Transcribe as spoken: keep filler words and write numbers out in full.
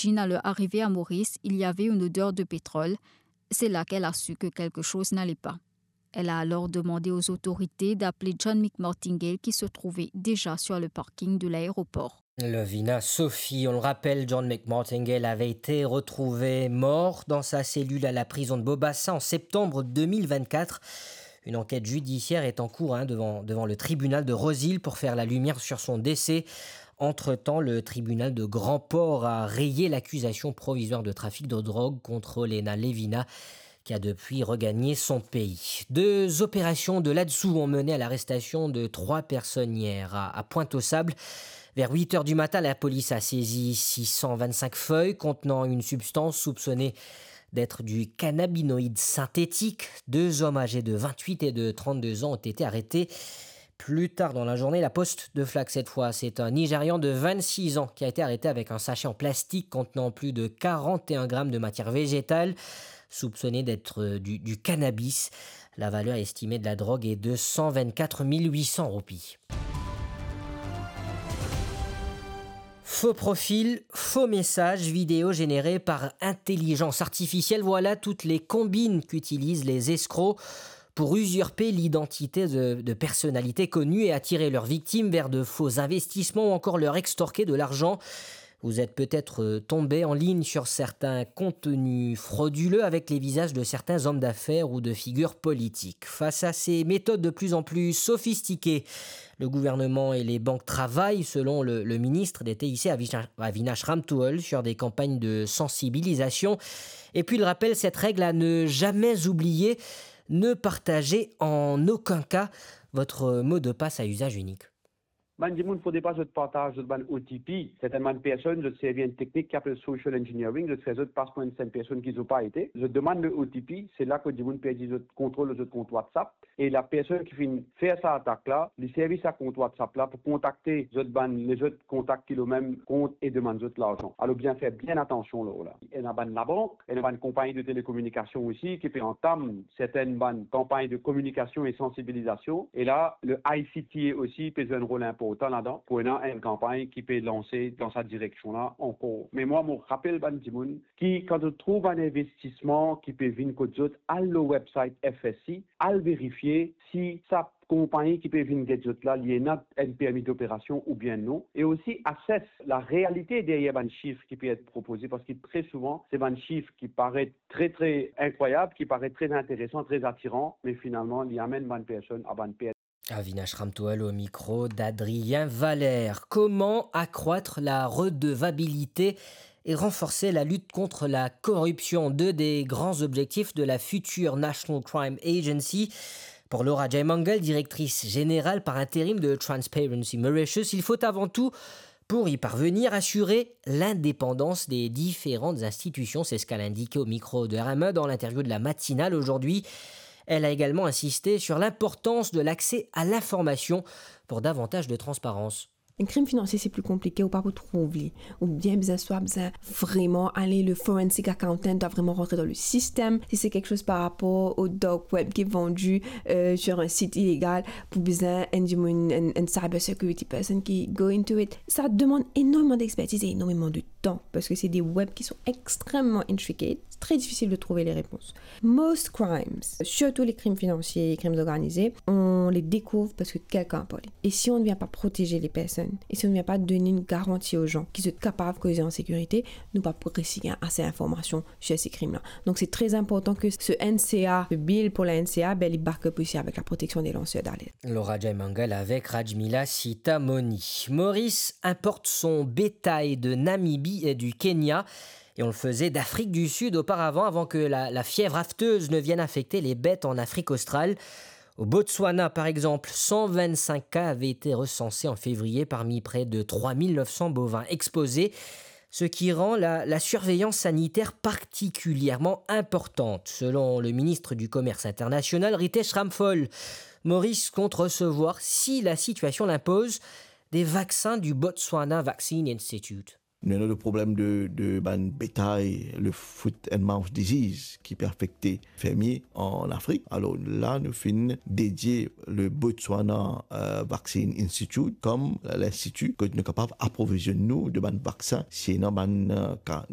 Chine, à leur arrivée à Maurice, il y avait une odeur de pétrole. C'est là qu'elle a su que quelque chose n'allait pas. Elle a alors demandé aux autorités d'appeler John McMartingale qui se trouvait déjà sur le parking de l'aéroport. Lovina Sophie, on le rappelle, John McMartingale avait été retrouvé mort dans sa cellule à la prison de Bobassa en septembre deux mille vingt-quatre. Une enquête judiciaire est en cours, hein, devant, devant le tribunal de Rose-Hill pour faire la lumière sur son décès. Entre-temps, le tribunal de Grand-Port a rayé l'accusation provisoire de trafic de drogue contre Lena Levina, qui a depuis regagné son pays. Deux opérations de là-dessous ont mené à l'arrestation de trois personnes hier à, à Pointe-aux-Sables. Vers huit heures du matin, la police a saisi six cent vingt-cinq feuilles contenant une substance soupçonnée d'être du cannabinoïde synthétique. Deux hommes âgés de vingt-huit et de trente-deux ans ont été arrêtés. Plus tard dans la journée, la poste de flaque cette fois, c'est un Nigérian de vingt-six ans qui a été arrêté avec un sachet en plastique contenant plus de quarante et un grammes de matière végétale, soupçonné d'être, euh, du, du cannabis. La valeur estimée de la drogue est de cent vingt-quatre mille huit cents roupies. Faux profil, faux messages vidéo générés par intelligence artificielle, voilà toutes les combines qu'utilisent les escrocs pour usurper l'identité de, de personnalités connues et attirer leurs victimes vers de faux investissements ou encore leur extorquer de l'argent. Vous êtes peut-être, euh, tombé en ligne sur certains contenus frauduleux avec les visages de certains hommes d'affaires ou de figures politiques. Face à ces méthodes de plus en plus sophistiquées, le gouvernement et les banques travaillent, selon le, le ministre d'État ici, Avinash, Avinash Ramtoul, sur des campagnes de sensibilisation. Et puis, il rappelle cette règle à ne jamais oublier, ne partagez en aucun cas votre mot de passe à usage unique. Bann dimoun, fode pa zot partaz zot bann O T P. Sertenn bann personn, zot servi enn teknik ki apel social engineering, zot fer zot pas pou enn, enn personn ki zot pa ete. Zot demann le O T P, se la kot dimoun perdi zot kontrol lor zot kont WhatsApp. E la personn ki finn fer sa atak la, li servi sa kont WhatsApp la pou kontakte zot bann, lezot kontak ki lor mem kont e demann zot larzan. Alor, bien fer bien atansion lor la. Ena bann labank, ena bann konpagni de telekominikasion osi ki pe antam sertenn bann kanpagn de kominikasion e sansibilizasion. E la, le I C T A osi pe zwe enn rol inportan ladan pou ena enn kanpagn ki pe lanse dan sa direksion la ankor. Me mwa, mo rapel bann dimoun ki, kan zot trouv enn investisman ki pe vinn kot zot, al lor website F S C, al verifie si sa konpagni ki pe vinn get zot la, li ena enn permi doperasion oubien non. E osi, assess la realite deryer bann sif ki pe et propoze, parski tre souvan, se bann sif ki paret tre, tre inkrwayab, ki paret tre interesan, tre atiran, me finalman, li amenn bann personn a bann pert. Avinash Ramtoul au micro d'Adrien Valère. Comment accroître la redevabilité et renforcer la lutte contre la corruption, deux des grands objectifs de la future National Crime Agency. Pour Laura Jaimangal, directrice générale par intérim de Transparency Mauritius, il faut avant tout, pour y parvenir, assurer l'indépendance des différentes institutions. C'est ce qu'elle a indiqué au micro de R M E dans l'interview de la matinale aujourd'hui. Elle a également insisté sur l'importance de l'accès à l'information pour davantage de transparence. Enn krim finansie, se pli konplike, ou pa pou trouv li. Ou bien bizin, swa bizin vreman ale, le forensic accountant dwa vreman rantre dan le sistem. Si se kiksoz par rapor au dark web ki vandi, euh, sur un site illégal, pou bizin enn dimoun, enn, enn cyber security person ki go into it. Sa demann enormeman d'expertise e enormeman de tan, parski se de web ki sont extrêmement intricate. C'est très difficile de trouver les réponses. Most crimes, surtout les crimes financiers et crimes organisés, on les découvre parce que quelqu'un a parlé. Et si on ne vient pas protéger les personnes, et si on ne vient pas donner une garantie aux gens ki zot kapav koze an sekirite, nou pa pou resi gagn ase informasion sur ces crimes-là. Donc c'est très important que ce N C A, ce bill pour la N C A, ben, li back up aussi avec la protection des lanceurs d'alerte. Laura Jaimangal avec Rajmila Sitamoni. Maurice importe son bétail de Namibie et du Kenya. Et on le faisait d'Afrique du Sud auparavant, avant que la, la fièvre aphteuse ne vienne infecter les bêtes en Afrique australe. Au Botswana, par exemple, cent vingt-cinq cas avaient été recensés en février parmi près de trois mille neuf cents bovins exposés, ce qui rend la, la surveillance sanitaire particulièrement importante. Selon le ministre du Commerce international, Ritesh Ramphal, Maurice compte recevoir, si la situation l'impose, des vaccins du Botswana Vaccine Institute. Nou ena le problem de, de bann betay, le foot and mouth disease, ki pe afekte fermie an Afrik. Alor la, nou finn dedie le Botswana, euh, Vaccine Institute kom linstiti kot nou kapav aprovizionn nou de bann vaksin si ena bann, euh, ka.